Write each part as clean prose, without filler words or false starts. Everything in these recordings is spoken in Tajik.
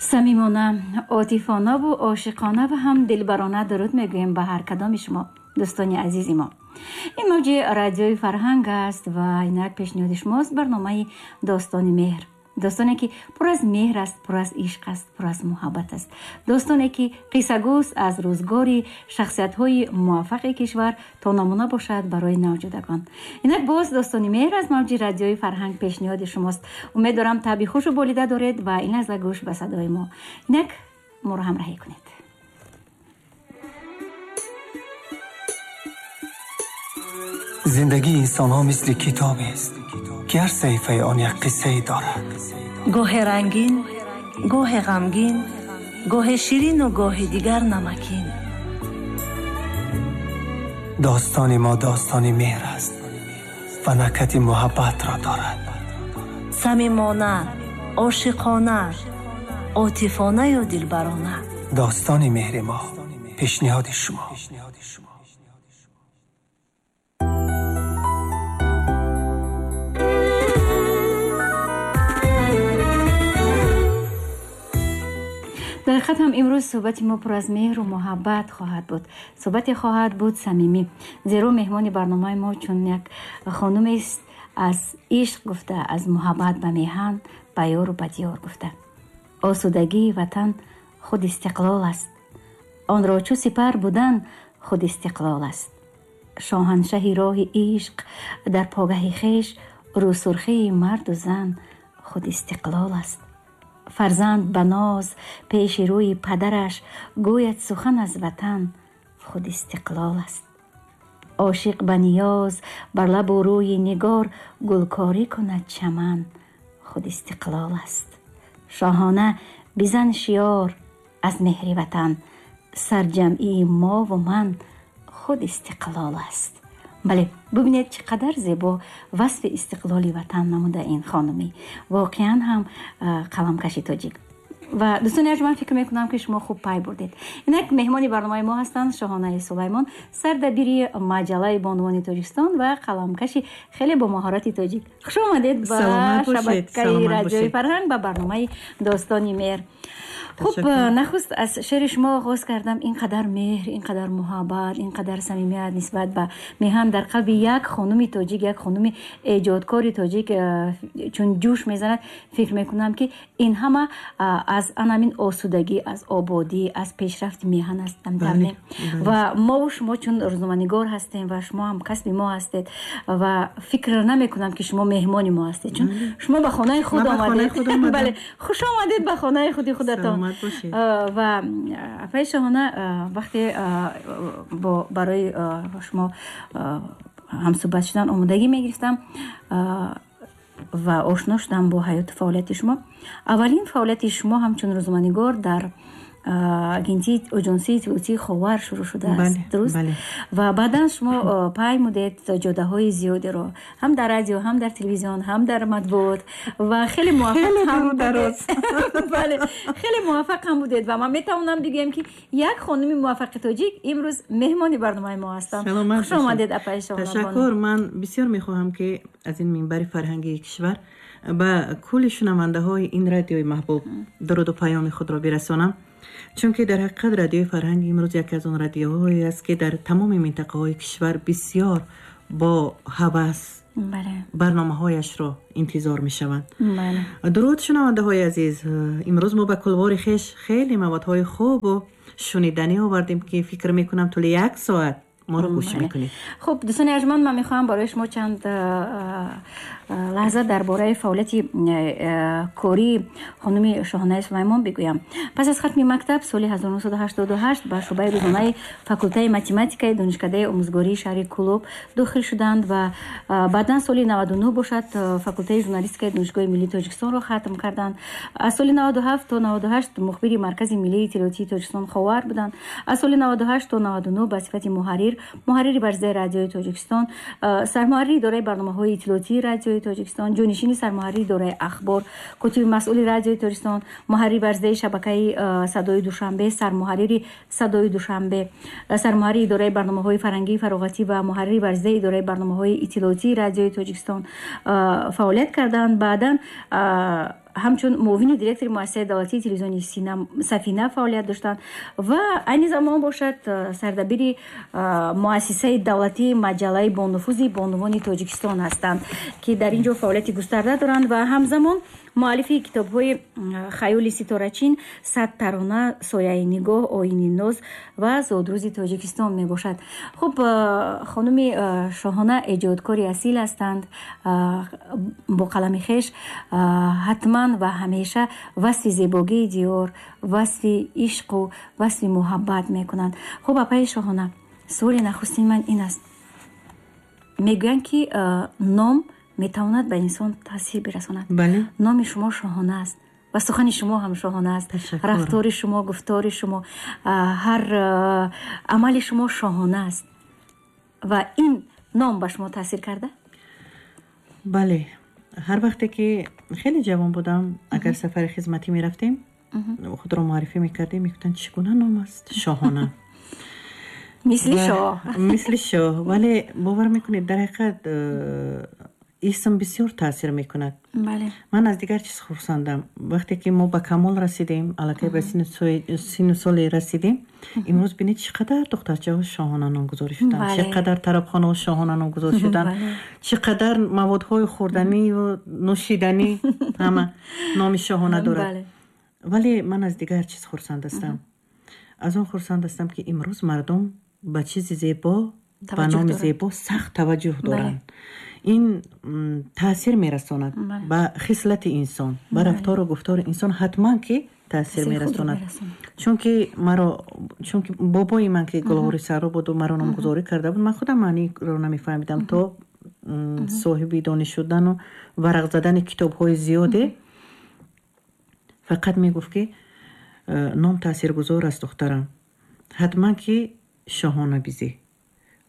Самимона, отифонаву ошиқона ва ҳам дилбарона дуруд мегӯем ба ҳар кадоми шумо, дӯстони азизи мо. Ин мавҷи радиои Фарҳанг аст ва инак пешниҳоди шумост барномаи Достони меҳр. Достоне ки пур аз меҳр аст, пур аз ишқ аст, пур аз муҳаббат аст. Достоне ки қиссагӯст аз рӯзгори шахсиятҳои муваффақи кишвар то намуна бошад барои навҷудагон. Инак боз Достони меҳр аз мавҷи радиои Фарҳанг пешниҳоди шумост. Умед дорам табъи хушу болида доред ва ин лаҳза гӯш ба садои мо. Инак моро ҳамроҳӣ кунед. Зиндагии инсонҳо мисли китобест, ки ҳар саҳифаи он як қиссае дорад. Гоҳе рангин, гоҳе ғамгин, гоҳе ширину гоҳе дигар намакин. Достони мо достони меҳр аст ва накҳати муҳаббатро дорад. Самимона, ошиқона, отифонаю дилбарона. Достони меҳри мо пешниҳоди шумо. Дар ҳақиқат ҳам имрӯз суҳбати мо пур аз меҳру муҳаббат хоҳад буд. Суҳбате хоҳад буд самимӣ, зеро меҳмони барномаи мо чун як хонумест аз ишқ гуфта, аз муҳаббат ба меҳан, ба ёру ба диёр гуфта. Осудагии ватан худ истиқлол аст, онро чу сипар будан худ истиқлол аст. Шоҳаншаҳи роҳи ишқ дар погаҳи хеш, рӯсурхии марду зан худ истиқлол аст. Фарзанд ба ноз пеши рӯи падараш гӯяд сухан аз ватан худ истиқлол аст. Ошиқ ба ниёз бар лабу рӯи нигор гулкорӣ кунад чаман худ истиқлол аст. Шоҳона бизан шиёр аз меҳри ватан, сарҷамъии мову ман худ истиқлол аст. Бале, бубинед чӣ қадар зебо васфи истиқлоли ватан намуда ин хонумӣ. Воқеан ҳам қаламкаши тоҷик. Ва дӯстони арҷманд, фикр мекунам ки шумо хуб пай бурдед. Инак меҳмони барномаи мо ҳастанд Шоҳонаи Сулаймон, сардабири маҷаллаи бонувони Тоҷикистон ва қаламкаши хеле бо маҳорати тоҷик. Хуш омадед ба шабакаи радиои Фарҳанг, ба барномаи Достони меҳр. Хуб, нахуст аз шеъри шумо оғоз кардам. Ин қадар меҳр, ин қадар муҳаббат, ин қадар самимият нисбат ба меҳан дар қалби як хонуми тоҷик, як хонуми эҷодкори тоҷик чун ҷӯш мезанад, фикр мекунам ки ин ҳама аз анамин осудагӣ, аз ободӣ, аз пешрафти меҳан аст. Ва мову шумо чун рӯзноманигор ҳастем ва шумо ҳам касби мо ҳастед ва фикр намекунам ки шумо меҳмони мо ҳастед, чун шумо ба хонаи худ омадед. Бале, хуш омадед ба хонаи худи худатон. Ва апаи Шоҳона, вақте барои шумо ҳамсӯҳбат шудан омодагӣ мегирифтам ва ошно шудам бо ҳаёту фаъолияти шумо, аввалин фаъолияти шумо ҳамчун рӯзноманигор дар агентии оҷонсии иттилоотии Ховар шурӯъ шудааст, дуруст? Ва баъдан шумо паймудед ҷодаҳои зиёдеро ҳам дар радио, ҳам дар телевизион, ҳам дар матбуот ва хеле муваффақ ҳам будед. Бале, хеле муваффақ ҳам будед ва ман метавонам бигӯям ки як хонуми муваффақи тоҷик имрӯз меҳмони барномаи мо ҳастанд. Хуш омадед, апаи Шоҳона. Ташаккур. Ман бисёр мехоҳам ки аз ин минбари фарҳангии кишвар ба кулли шунавандаҳои ин радиои маҳбуб дуруду паёми худро бирасонам, чунки дар ҳақиқат радиои Фарҳанг имрӯз яке аз он радиоҳое аст ки дар тамоми минтақаҳои кишвар бисёр бо ҳавас барномаҳояшро интизор мешаванд. Дуруд, шунавандаҳои азиз. Имрӯз мо ба кулвори хеш хеле маводҳои хубу шуниданӣ овардем ки фикр мекунам тӯли як соат моро гӯш мекунед. Хуб, дӯстони арҷманд, ман мехоҳам барои шумо чанд лаҳза дар бораи фаъолияти кории хонуми Шоҳонаи Сулаймон бигӯям. Пас аз хатми мактаб соли 1988 ба шӯъбаи рӯзонаи факултаи математикаи донишкадаи омӯзгории шаҳри Кӯлоб дохил шуданд ва баъдан соли 99 бошад факултаи журналистикаи Донишгоҳи миллии Тоҷикистонро хатм карданд. Аз соли 97 то 98 мухбири Маркази миллии иттилоотии Тоҷикистон Ховар буданд. Аз соли 98 то 99 ба сифати муҳаррир, муҳаррири барзаи радиои Тоҷикистон, сармуҳаррири идораи барномаҳои иттилоотии радиои Тоҷикистон, ҷонишини сармуҳаррири идораи ахбор, котиби масъули радиои Тоҷикистон, муҳаррири барзаи шабакаи Садои Душанбе, сармуҳаррири Садои Душанбе, сармуҳаррири идораи барномаҳои фарҳангии фароғатӣ ва муҳаррири барзаи идораи барномаҳои иттилоотии радиои Тоҷикистон фаъолият карданд. Баъдан Ҳамчун муовини директори муассисаи давлатии телевизиони Сафина фаъолият доштанд ва айни замон бошад, сардабири муассисаи давлатии маҷаллаи бонуфузи бонувони Тоҷикистон ҳастанд, ки дар ин ҷо фаъолияти густарда доранд, ва ҳамзамон муаллифи китобҳои «Хаёли ситорачин», «100 тарона», «Сояи нигоҳ», «Оини ноз» ва «Зодрӯзи Тоҷикистон» мебошад. Хуб, хонуми Шоҳона эҷодкори асил ҳастанд. Бо қалами хеш ҳатман ва ҳамеша васфи зебогии диёр, васфи ишқу васфи муҳаббат мекунанд. Хуб, апаи Шоҳона, суоли нахустини ман ин аст: мегӯянд, ки ном метавонад ба инсон таъсир бирасонад. Номи шумо Шоҳона аст ва сухани шумо ҳам шоҳона аст, рафтори шумо, гуфтори шумо, ҳар амали шумо шоҳона аст. Ва ин ном ба шумо таъсир карда? Бале, ҳар вақте ки хеле ҷавон будам, агар сафари хизматӣ мерафтем, худро муаррифӣ мекардем, мегуфтанд: «Чӣ гуна ном аст, Шоҳона?» Мисли шоҳ. Мисли шоҳ. Вале бовар мекунед, дар ҳақиқат исм бисёр таъсир мекунад. Ман аз дигар чиз хурсандам. Вақте ки мо ба камол расидем, аллакай ба сину соле расидем, имрӯз бинед, чӣ қадар духтарчаҳо Шоҳона номгузорӣ шуданд, чӣ қадар тарабхонаҳо Шоҳона номгузорӣ шуданд, чӣ қадар маводҳои хӯрданию нӯшиданӣ ҳама номи Шоҳона дорад. Вале ман аз дигар чиз хурсанд ҳастам. Аз он хурсанд ҳастам, ки имрӯз мардум ба чизи зебо, ба номи зебо сахт таваҷҷӯҳ доранд. Ин таъсир мерасонад ба хислати инсон, ба рафтору гуфтори инсон ҳатман ки таъсир мерасонад. Чунки маро, чунки бобои ман, ки гулғори сарро буду маро номгузорӣ карда буд, ман худам маъниро намефаҳмидам то соҳиби дониш шудану варақ задани китобҳои зиёде. Фақат мегуфт, ки ном таъсиргузор аст, духтарам, ҳатман ки Шоҳона бизӣ.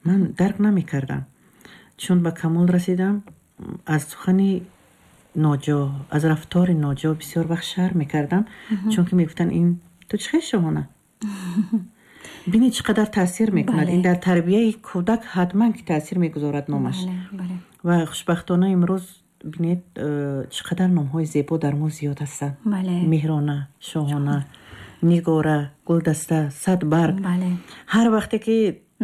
Ман дарк намекардам. Чун ба камол расидам, аз сухани ноҷо, аз рафтори ноҷо бисёр вақт шарм мекардам, чунки мегуфтанд: «Ин ту чӣ хел Шоҳона?» Бинед, чӣ қадар таъсир мекунад ин дар тарбияи кӯдак, ҳатман ки таъсир мегузорад номаш. Ва хушбахтона имрӯз бинед, чӣ қадар номҳои зебо дар мо зиёд ҳастанд: Меҳрона, Шоҳона, Нигора, Гулдаста, Садбарг. Ҳар вақте ки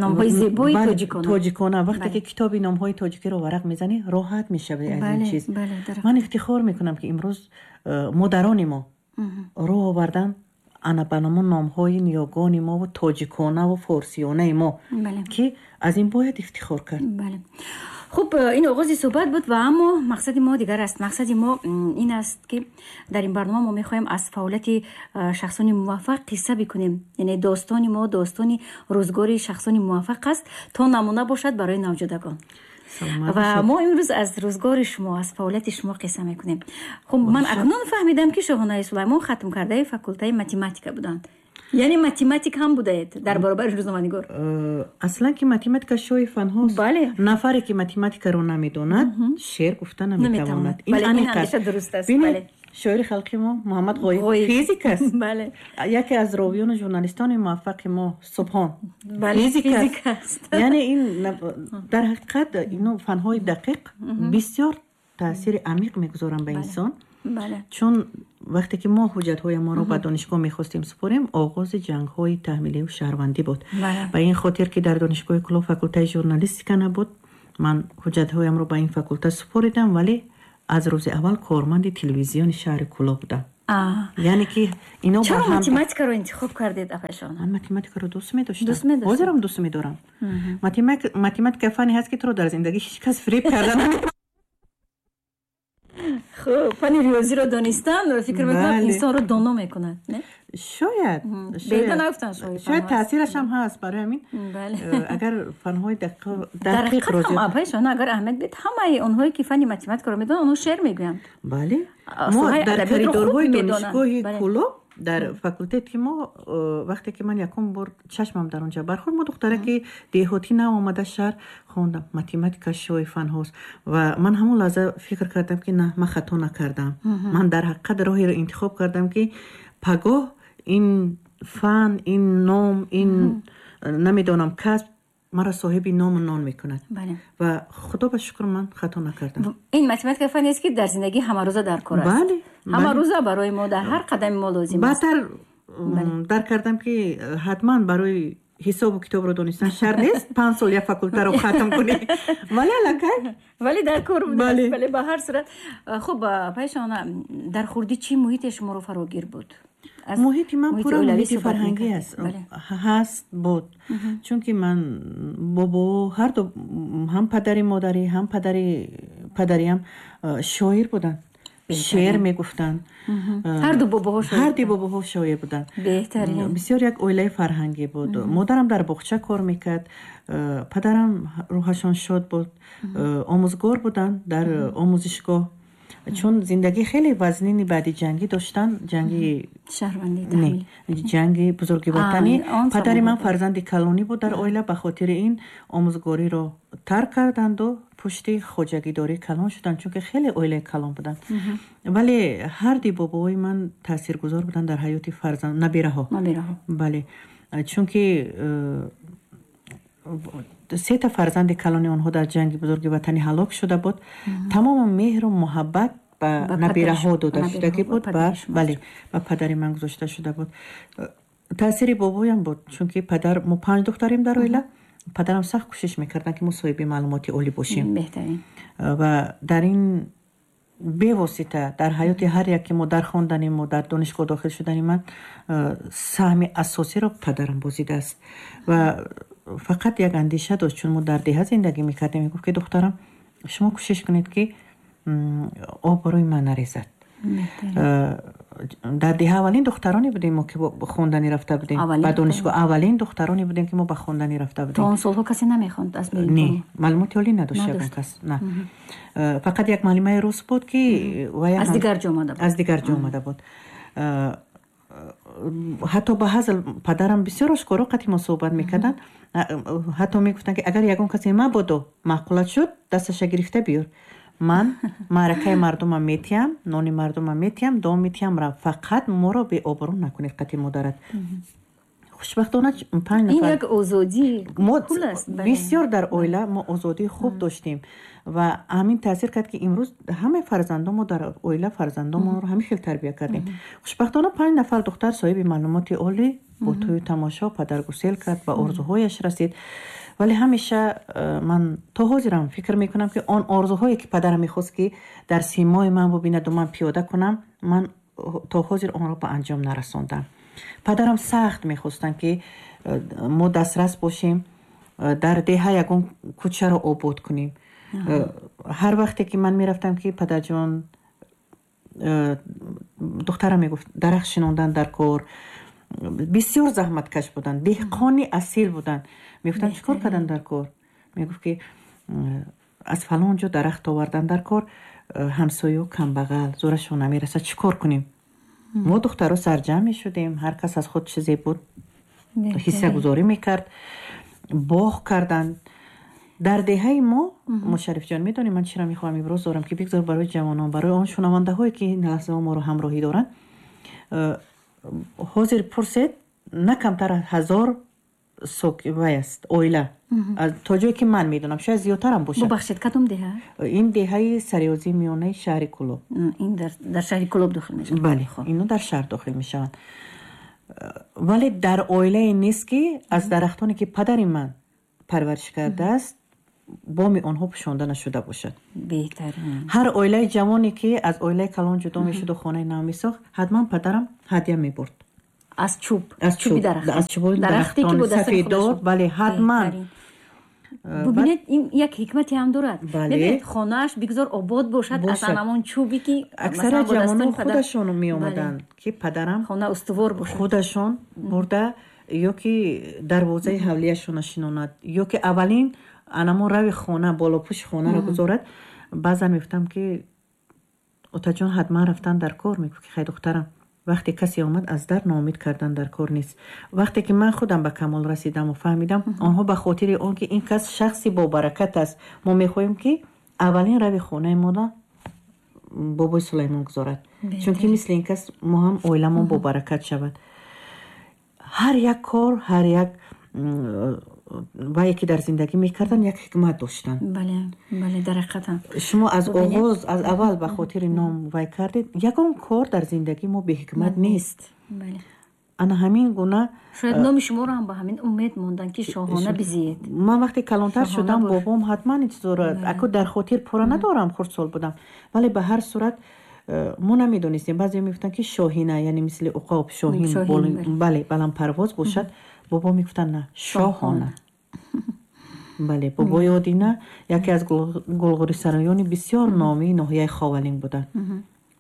номҳои зебои тоҷикона. Тоҷикона. Вақте ки китоби номҳои тоҷикиро варақ мезанӣ, роҳат мешавӣ аз ин чиз. Ман ифтихор мекунам, ки имрӯз модарони мо роҳ овардан ана ба номо номҳои ниёгони мову тоҷиконаву форсиёнаи мо, ки аз ин бояд ифтихор кард. Хуб, ин оғози суҳбат буд ва аммо мақсади мо дигар аст. Мақсади мо ин аст, ки дар ин барнома мо мехоҳем аз фаъолияти шахсони муваффақ қисса бикунем, яъне достони мо достони рӯзгори шахсони муваффақ аст, то намуна бошад барои навҷудагон. Ва мо имрӯз аз рӯзгори шумо, аз фаъолияти шумо қисса мекунем. Хуб, ман акнун фаҳмидам, ки Шоҳонаи Сулаймон хатмкардаи факултаи математика буданд, яъне математик ҳам будаед дар баробари рӯзноманигор. Аслан ки математика шоҳи фанҳост. Нафаре ки математикаро намедонад, шеър гуфта наметавонад. Ин андеша дуруст аст. Шоири халқи мо Муҳаммад Ғоиб физик аст. Яке аз ровиёну журналистони муваффақи мо Субҳон физик аст. Яъне ин дар ҳақиқат ино фанҳои дақиқ бисёр таъсири амиқ мегузоранд ба инсон. Чун вақте ки мо ҳуҷҷатҳои моро ба донишгоҳ мехостем супорем, оғози ҷангҳои таҳмилию шаҳрвандӣ буд. Ба ин хотир ки дар донишгоҳи Кӯлоб факултаи журналистика набуд, ман ҳуҷҷатҳоямро ба ин факулта супоридам, вале аз рӯзи аввал корманди телевизиони шаҳри Кӯлоб будам. Яъне ки ино Чаро математикаро интихоб кардед, апайшон? Ман математикаро дӯст медоштам, ҳозирам дӯст медорам. Математика фане ҳаст, ки туро дар зиндагӣ ҳеҷ кас фиреб карда. Хуб, фани риёзиро донистан, фикр мекунам, инсонро доно мекунад, не? Шояд. Беҳуда нагуфтанд. Шояд таъсираш ҳам ҳаст. Барои ҳамин агар фанҳои дақиқро Апайшон, агар аҳамият бид, ҳамаи онҳое ки фани математикаро медонанд, онҳо шеър мегӯянд. Бале, мо дар коридорҳои донишгоҳи Кӯлоб, дар факултети мо, вақте ки ман якум бор чашмам дар он ҷо бархӯрд, мо духтараки деҳотӣ, нав омада шаҳр, хондам: математика шоҳи фанҳост. Ва ман ҳамон лаҳза фикр кардам, ки на, ман хато накардам, ман дар ҳақиқат роҳеро интихоб кардам, ки пагоҳ ин фан, ин ном, ин намедонам касб маро соҳиби ному нон мекунад. Ва худо ба шукр, ман хато накардам. Ин математика фанест, ки дар зиндагӣ ҳамарӯза дар кор аст. Бале. Ҳама рӯза барои мо дар ҳар қадами мо лозим аст. Баъдтар дарк кардам, ки ҳатман барои ҳисобу китобро донистан шарт нест 5 сол як факултаро хатм кунӣ, вале аллакай Вале дар кор будааст, бале, ба ҳар сурат. Хуб, Пайшона, дар хурдӣ чӣ муҳите шуморо фарогир буд? Муҳити ман пурра муҳити фарҳангӣ аст, ҳаст, буд, чунки ман бобо ҳарду, ҳам падари модарӣ, ҳам падари падариам шоир буданд, шеър мегуфтанд. Ҳарду бобоҳо? Ҳарди бобоҳо шоир буданд. Беҳтарин. Бисёр як оилаи фарҳангӣ буд. Модарам дар боғча кор мекард, падарам, рӯҳашон шод буд, омӯзгор буданд дар омӯзишгоҳ, чун зиндагӣ хеле вазнини баъди ҷангӣ доштанд, ҷанги не, ҷанги Бузурги Ватанӣ. Падари ман фарзанди калонӣ буд дар оила, ба хотири ин омӯзгориро тарк карданду пушти хоҷагидорӣ калон шуданд, чунки хеле оилаи калон буданд. Вале ҳарди бобоҳои ман таъсиргузор буданд дар ҳаёти фарзанд, набираҳо, бале, чунки сета фарзанди калони онҳо дар ҷанги Бузурги Ватанӣ ҳалок шуда буд. Тамоми меҳру муҳаббат ба набираҳо дода шудагӣ буд, бале, ба падари ман гузошта шуда буд. Таъсири бобоям буд, чунки падар, мо панҷ духтарем дар оила, падарам сахт кӯшиш мекарданд, ки мо соҳиби маълумоти олӣ бошем ва дар ин бевосита дар ҳаёти ҳар яке мо, дар хондани мо, дар донишгоҳ дохил шудани ман саҳми асосиро падарам бозидааст. Ва фақат як андеша дошт, чун мо дар деҳа зиндагӣ мекардем, мегуфт, ки духтарам, шумо кӯшиш кунед, ки обрӯи ман нарезад. Дар деҳа аввалин духтароне будем мо, ки хонданӣ рафта будем ба донишгоҳ, аввалин духтароне будем, ки мо ба хонданӣ рафта будем. То он солҳо касе намехонд аз Не, маълумоти олӣ надошт ягон кас, на, фақат як муаллимаи рус буд, ки аз дигар ҷо омада буд. Аз дигар ҷо омада буд. Ҳатто ба ҳазл падарам бисёр ошкоро қати мо суҳбат мекарданд, ҳатто мегуфтанд, ки агар ягон касе мабодо маъқулат шуд, дасташа гирифта биёр, ман маъракаи мардумам метиҳам, нони мардумам метиҳам, дом метиҳам, рав, фақат моро беобрӯ накунед қати модарат. Хушбахтона, панҷ нафар, ин як озодӣ. Мо бисёр дар оила мо озодии хуб доштем ва ҳамин таъсир кард, ки имрӯз ҳамаи фарзандон, мо дар оила фарзандонмонро ҳамин хел тарбия кардем. Хушбахтона, панҷ нафар духтар соҳиби маълумоти олӣ, бо тӯю тамошо падар гусел кард, ба орзуҳояш расид. Вале ҳамеша ман то ҳозирам фикр мекунам, ки он орзуҳое, ки падарам мехост, ки дар симои ман бубинаду ман пиёда кунам, ман то ҳозир онро ба анҷом нарасондам. Падарам сахт мехостанд, ки мо дастрас бошем, дар деҳа ягон кӯчаро обод кунем. Ҳар вақте ки ман мерафтам, ки падарҷон, духтарам, мегуфт, дарахт шинондан дар кор. Бисёр заҳматкаш буданд, деҳқони асил буданд. Мегуфтанд, чӣ кор кардан дар кор? Мегуфт, ки аз фалон ҷо дарахт овардан дар кор, ҳамсою камбағал, зӯрашон намерасад, чӣ кор кунем? Мо духтаро сарҷамъ мешудем, ҳар кас аз худ чизе буд ҳиссагузорӣ мекард, боғ карданд дар деҳаи мо. Мушаррифҷон, медонӣ, ман чиро мехоҳам имрӯз дорам, ки бигзор барои ҷавонон, барои он шунавандаҳое, ки ин лаҳзаҳо моро ҳамроҳӣ доранд, ҳозир пурсед, на камтар аз 1000 вай аст оила, то ҷое ки ман медонам, шояд зиёдтарам бошад. Бубахшед, кадом деҳа? Ин деҳаи Сариёзии миёнаи шаҳри Кӯлоб. Ин дар шаҳри Кӯлоб дохил мешавад? Бале, ино дар шаҳр дохил мешаванд. Вале дар оилае нест, ки аз дарахтоне, ки падари ман парвариш кардааст, боми онҳо пӯшонда нашуда бошад. Беҳтарин. Ҳар оилаи ҷавоне, ки аз оилаи калон ҷудо мешуду хонаи нав месохт, ҳатман падарам ҳадя мебурд. Аз чӯб? Аз чӯби дарахт? Аз чӯби дарахтони сафедор, бале, ҳатман. Бубинед, ин як ҳикмате ҳам дорад. Мебинед, хонааш бигзор обод бошад аз ҳамон чӯбе, ки Аксари ҷавонон худашон меомаданд, ки падарам хона устувор бошад. Худашон бурда, ё ки дарвозаи ҳавлияшона шинонад, ё ки аввалин анамон рави хона, болопӯши хонаро гузорад. Баъзан мегуфтам, ки отаҷон, ҳатман рафтан дар кор. Мегуфт, ки хай, духтарам, вақте касе омад аз дар, ноумед кардан дар кор нест. Вақте ки ман худам ба камол расидаму фаҳмидам, онҳо ба хотири он ки ин кас шахси бобаракат аст, мо мехоҳем, ки аввалин рави хонаи моро бобои Сулаймон гузорад, чунки мисли ин кас мо ҳам оиламон бобаракат шавад. Ҳар як кор, ҳар як Вае ки дар зиндагӣ мекарданд, як ҳикмат доштанд. Бале, бале, дар ҳақиқатам. Шумо аз оғоз, аз аввал ба хотири ном вай кардед. Ягон кор дар зиндагии мо беҳикмат нест. Ана ҳамин гуна. Шояд номи шуморо ҳам ба ҳамин умед монданд, ки шоҳона бизиед. Ман вақте калонтар шудам, бобом ҳатман ин чизоро аку дар хотир пурра надорам, хурдсол будам, вале ба ҳар сурат мо намедонистем. Баъзе мегуфтанд, ки шоҳина, яъне мисли уқоб, шоҳин, бале, баландпарвоз бошад. Бобо мегуфтанд: на, шоҳона. Бале, бобои Одина яке аз гулғурисароёни бисёр номии ноҳияи Ховалинг буданд.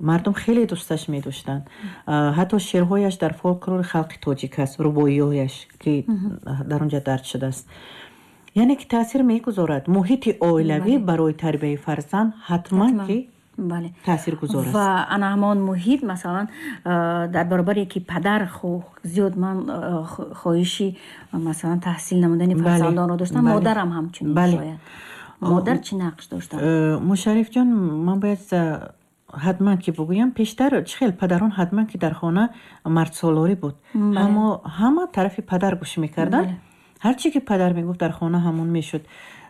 Мардум хеле дӯсташ медоштанд. Ҳатто шеърҳояш дар фолклори халқи тоҷик аст, рубоиҳояш, ки дар он ҷа дарҷ шудааст. Яъне ки таъсир мегузорад муҳити оилавӣ барои тарбияи фарзанд, ҳатман ки таъсиргузор аст. Ва ана ҳамон муҳит, масалан, дар баробаре ки падар зиёд ман хоҳиши, масалан, таҳсил намудани фарзандонро доштам, модарам ҳамчунин. Шояд модар чӣ нақш доштанд? Мушаррифҷон, ман бояд ҳатман ки бигӯям, пештар чӣ хел падарон, ҳатман ки дар хона мардсолорӣ буд, ҳама тарафи падар гӯш мекарданд. Ҳар чӣ ки падар мегуфт, дар хона ҳамон мешуд.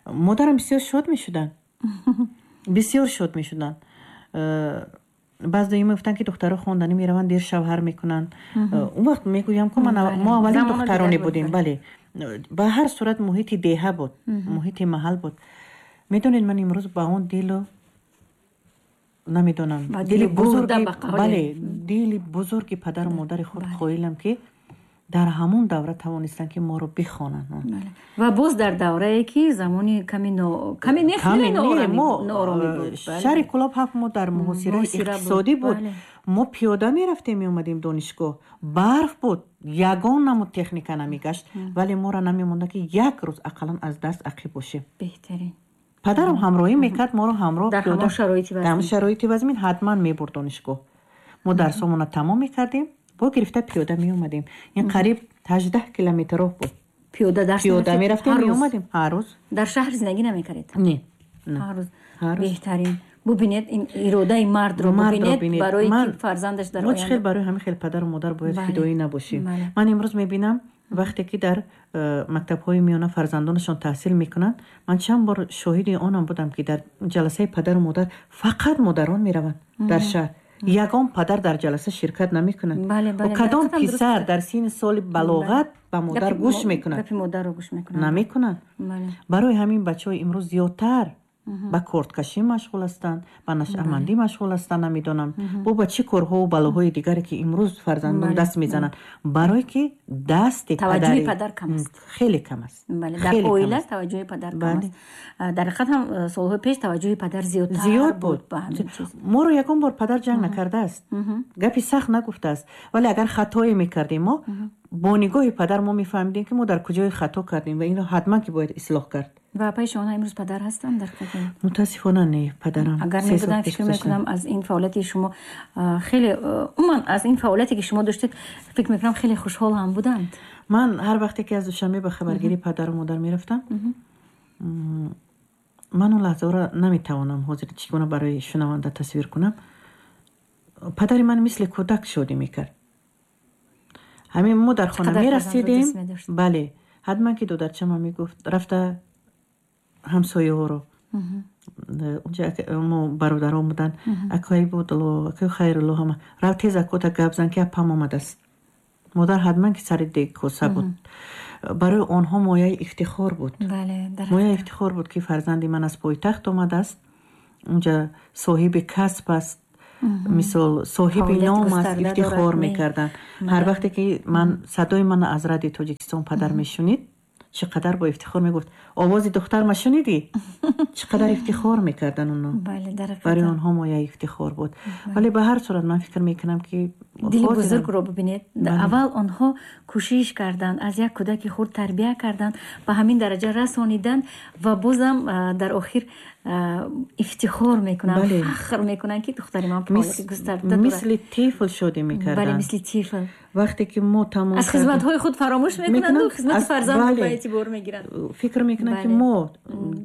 Модарам бисёр шод мешуданд, бисёр шод мешуданд. Баъз доим мегуфтанд, ки духтаро хонданӣ мераванд, дер шавҳар мекунанд. Он вақт мегӯям ку мо аввалин духтароне будем. Бале, ба ҳар сурат муҳити деҳа буд, муҳити маҳал буд. Медонед, ман имрӯз ба он дилу намедонам, дили бузурги, бале, дили бузурги падару модари худ қоилам, ки дар ҳамон давра тавонистанд, ки моро бихонанд. Ва боз дар даврае ки замони ками ками не, хеле нооромӣ буд. Шаҳри Кӯлоб 7 моҳ дар муҳосираи иқтисодӣ буд. Мо пиёда мерафтем, меомадем донишгоҳ. Барф буд, ягон намуд техника намегашт, вале моро намемонда, ки як рӯз ақаллан аз дарс ақиб бошем. Беҳтарин. Падарам ҳамроҳӣ мекард моро, ҳамроҳ. Дар ҳамон шароити вазмин ҳатман мебурд донишгоҳ. Мо дарсомона тамом мекардем, бо гирифта пиёда меомадем. Ин қариб 18 километр роҳ буд. Пиёда дарс? Пиёда мерафтем, меомадем ҳар рӯз. Дар шаҳр зиндагӣ намекардед? Не. Ҳар рӯз. Беҳтарин. Бубинед, ин иродаи мардро бубинед, барои ки фарзандаш дар мо чӣ хел барои ҳамин хел падару модар бояд фидоӣ набошем. Ман имрӯз мебинам, вақте ки дар мактабҳои миёна фарзандонашон таҳсил мекунанд, ман чанд бор шоҳиди онам будам, ки дар ҷаласаи падару модар фақат модарон мераванд. Дар шаҳр ягон падар дар ҷаласа ширкат намекунад. Кадом писар дар синни соли балоғат ба модар гӯш мекунад? Намекунад. Барои ҳамин бачаҳои имрӯз зиёдтар ба корткашӣ машғул ҳастанд, ба нашъамандӣ машғул ҳастанд, намедонам, бо ба чӣ корҳову балоҳои дигаре, ки имрӯз фарзандон даст мезананд, барое ки дасти таваҷҷӯҳи падар кам аст. Хеле кам аст. Дар оила таваҷҷӯҳи падар кам аст. Дар ҳақиқат ҳам солҳои пеш таваҷҷӯҳи падар зиёдтар зиёд буд. Моро ягон бор падар ҷанг накардааст, гапи сахт нагуфтааст, вале агар хатое мекардем, мо бо нигоҳи падар мо мефаҳмидем, ки мо дар куҷое хато кардем ва инро ҳатман ки бояд ислоҳ кард. Ва апаи шумо имрӯз падар ҳастанд дар Мутаассифона, не, падарам Агар мебуданд, фикр мекунам, аз ин фаъолияти шумо хеле, умуман аз ин фаъолияте ки шумо доштед, фикр мекунам, хеле хушҳол ҳам буданд. Ман ҳар вақте ки аз Душанбе ба хабаргирии падару модар мерафтам, ман он лаҳзаро наметавонам ҳозир чӣ гуна барои шунаванда тасвир кунам. Падари ман мисли кӯдак шодӣ мекард. Ҳамин мо дар хона мерасидем, бале, ҳатман ки додарчама мегуфт: рафта ҳамсояҳоро, унҷа мо бародарон буданд, акои Будулло, акои Хайрулло, ҳама рав, тез акота гап зан, ки апам омадааст. Модар ҳатман ки сари дег коса буд. Барои онҳо мояи ифтихор буд, мояи ифтихор буд, ки фарзанди ман аз пойтахт омадааст, унҷа соҳиби касб аст, мисол, соҳиби ном аст. Ифтихор мекарданд. Ҳар вақте ки ман садои ман аз Радиои Тоҷикистон падар мешунид, чӣ қадар бо ифтихор мегуфт: овози духтарма шунидӣ? Чӣ қадар ифтихор мекардан оно. Барои онҳо мояи ифтихор буд. Вале ба ҳар сурат ман фикр мекунам, ки дили бузургро бибинед. Аввал онҳо кӯшиш карданд, аз як кӯдаки хурд тарбия карданд, ба ҳамин дараҷа расониданд ва бозам дар охир ифтихор мекунанд, фахр мекунанд, ки духтари ман фаъолияти густарда дорад. Мисли тифл шодӣ мекарданд. Бале, мисли тифл. Вақте ки мо тамом аз хизматҳои худ фаромӯш мекунанду хизмати фарзандро ба эътибор мегиранд. Фикр мекунанд, ки мо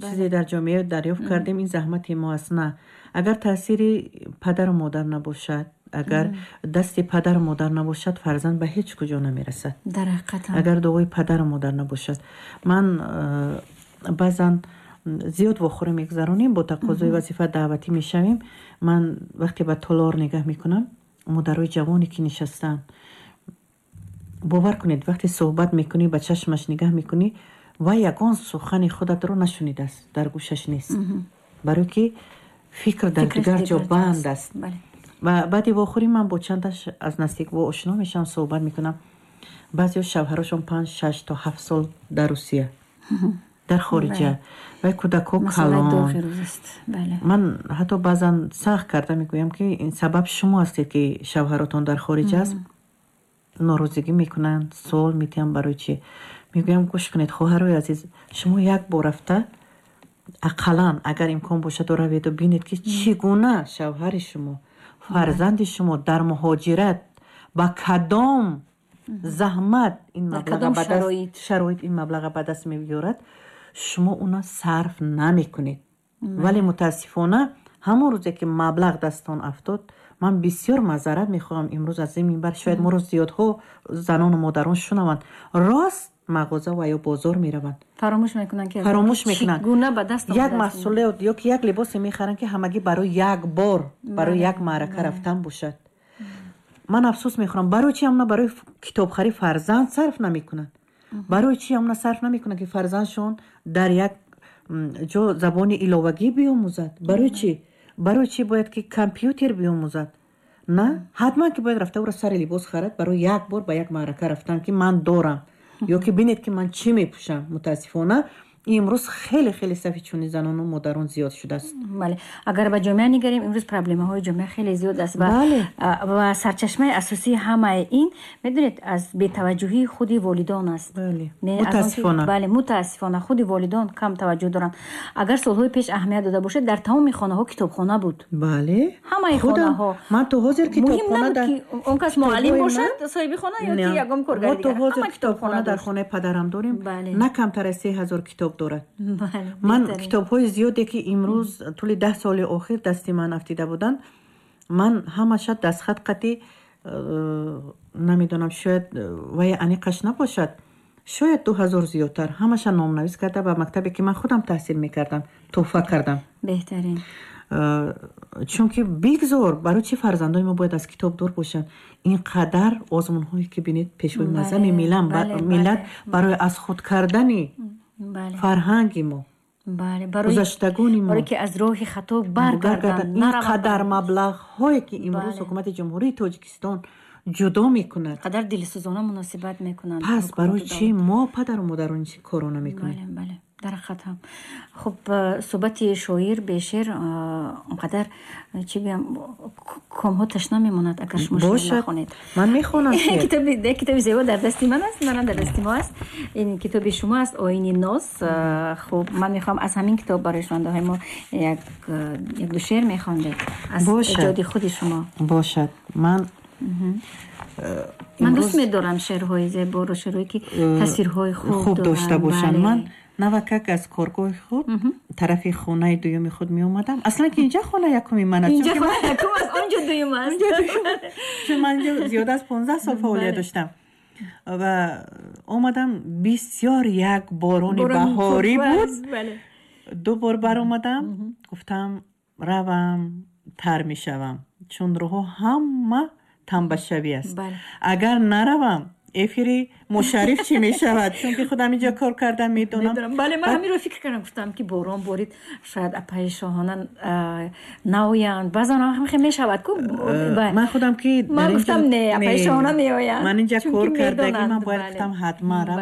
чизе дар ҷомеа дарёфт кардем, ин заҳмати мо аст. На, агар таъсири падару модар набошад, Агар дасти падару модар набошад, фарзанд ба ҳеҷ куҷо намерасад. Дар ҳақиқат. Агар дуои падару модар набошад. Ман баъзан зиёд вохӯрӣ мегузаронем, бо тақозои вазифа даъватӣ мешавем. Ман вақте ба толор нигаҳ мекунам, модарои ҷавоне ки нишастаанд, бовар кунед, вақте суҳбат мекунӣ, ба чашмаш нигаҳ мекунӣ, вай ягон сухани худатро нашунидааст, дар гӯшаш нест, барое ки фикр дар дигар ҷо банд аст. Ва баъди вохӯрӣ ман бо чандаш аз наздик ошно мешавам, суҳбат мекунам. Баъзеҳо шавҳарошон 5, 6 то 7 сол дар Русия, дар хориҷа, вай кӯдакҳо калон. Ман ҳатто баъзан сахт карда мегӯям, ки ин сабаб шумо ҳастед, ки шавҳаротон дар хориҷ аст. Норозигӣ мекунанд, суол метиҳанд, барои чӣ. Мегӯям: гӯш кунед, хоҳарои азиз, шумо як бор рафта, ақаллан агар имкон бошад, раведу бинед, ки чӣ гуна шавҳари шумо, фарзанди шумо дар муҳоҷират ба кадом заҳмат ин шароит, ин маблаға ба даст меорад, шумо уна сарф намекунед. Вале мутаассифона, ҳамон рӯзе ки маблағ дастон афтод. Ман бисёр маъзарат мехоҳам имрӯз аз ин минбар, шояд моро зиёдҳо занону модарон шунаванд, рост мағоза ва ё бозор мераванд. Фаромӯш мекунанд, ки фаромӯш мекунанд. Гуна ба даст. Як маҳсулот ё ки як либосе мехаранд, ки ҳамагӣ барои як бор, барои як маърака рафтан бошад. Ман афсӯс мехӯрам, барои чи ҳамна барои китобхарӣ фарзанд сарф намекунанд, барои чи ҳамна сарф намекунанд, ки фарзандшон дар як ҷо забони иловагӣ биомӯзад? Барои чӣ бояд ки компютер биомӯзад? На, ҳатман ки бояд рафта ӯро сари либос харад барои як бор ба як маърака рафтан, ки ман дорам, ё ки бинед, ки ман чӣ мепӯшам. Мутаассифона, имрӯз хеле хеле сафи чунин занону модарон зиёд шудааст. Бале, агар ба ҷомеа нигарем, имрӯз проблемаҳои ҷомеа хеле зиёд аст ва сарчашмаи асосии ҳамаи ин, медонед, аз бетаваҷҷӯҳии худи волидон аст. Мутаассифона. Бале, мутаассифона, худи волидон кам таваҷҷӯҳ доранд. Агар солҳои пеш аҳамият дода бошед, дар тамоми хонаҳо китобхона буд. Ҳамаи хонаҳо. Ман то ҳозир китобхона, он кас муаллим бошад, соҳиби хона, ё ки ягон коргари. Мо то ҳозир китобхона дар хонаи падарам дорем, на камтар аз 3000 китоб дорад. Ман китобҳои зиёде, ки имрӯз тӯли 10 соли охир дасти ман афтида буданд, ман ҳамаша дастхат қатӣ, намедонам, шояд вай аниқаш набошад, шояд 2000 зиёдтар, ҳамаша номнавис карда, ба мактабе, ки ман худам таҳсил мекардам, тӯҳфа кардам. Беҳтарин. Чунки бигзор, барои чӣ фарзандони мо бояд аз китоб дур бошанд? Ин қадар озмунҳое, ки бинед, пешвои муаззами миллат барои аз худ кардани фарҳанги мо, гузаштагони мо, барое ки аз роҳи хато баргарданд. Ин қадар маблағҳое, ки имрӯз ҳукумати Ҷумҳурии Тоҷикистон ҷудо мекунад, қадар дилсӯзона муносибат мекунанд. Пас барои чӣ мо, падару модарон, ин корро намекунем? Бале, дар ҳақиқат ҳам. Хуб, суҳбати шоир бе шеър онқадар, чӣ гӯям, комҳо ташна мемонад, агар шумо шеър нахонед. Ман мехонам. Китоби зебо дар дасти ман аст, манам дар дасти мо аст. Ин китоби шумо аст, «Оини ноз». Хуб, ман мехоҳам аз ҳамин китоб барои шунавандаҳои мо як ду шеър мехондед аз эҷоди худи шумо. Бошад, ман Ман дӯст медорам шеърҳои зеборо, шеърҳое, ки тасвирҳои хуб дошта бошанд. Ман навакак аз коргоҳи худ тарафи хонаи дуюми худ меомадам. Аслан ки инҷа хона якуми ман аст. Онҷо дуюм аст. Чун ман инҷо зиёда аз 15 сол фаъолият доштам. Ва омадам, бисёр як борони баҳорӣ буд. Ду бор баромадам, гуфтам, равам, тар мешавам, чун роҳҳо ҳама тамбашавӣ аст. Агар наравам, эфири Мушарриф чӣ мешавад? Чунки худам инҷо кор кардам, медонам. Бале, ман ҳаминро фикр кардам, гуфтам, ки борон борид, шояд апаи Шоҳона наоянд. Баъзан ҳам мешавад ку. Ман худам ки Ман гуфтам, не, апаи Шоҳона меоянд. Ман инҷа кор кардагӣ, ман бояд гуфтам, ҳатман равам.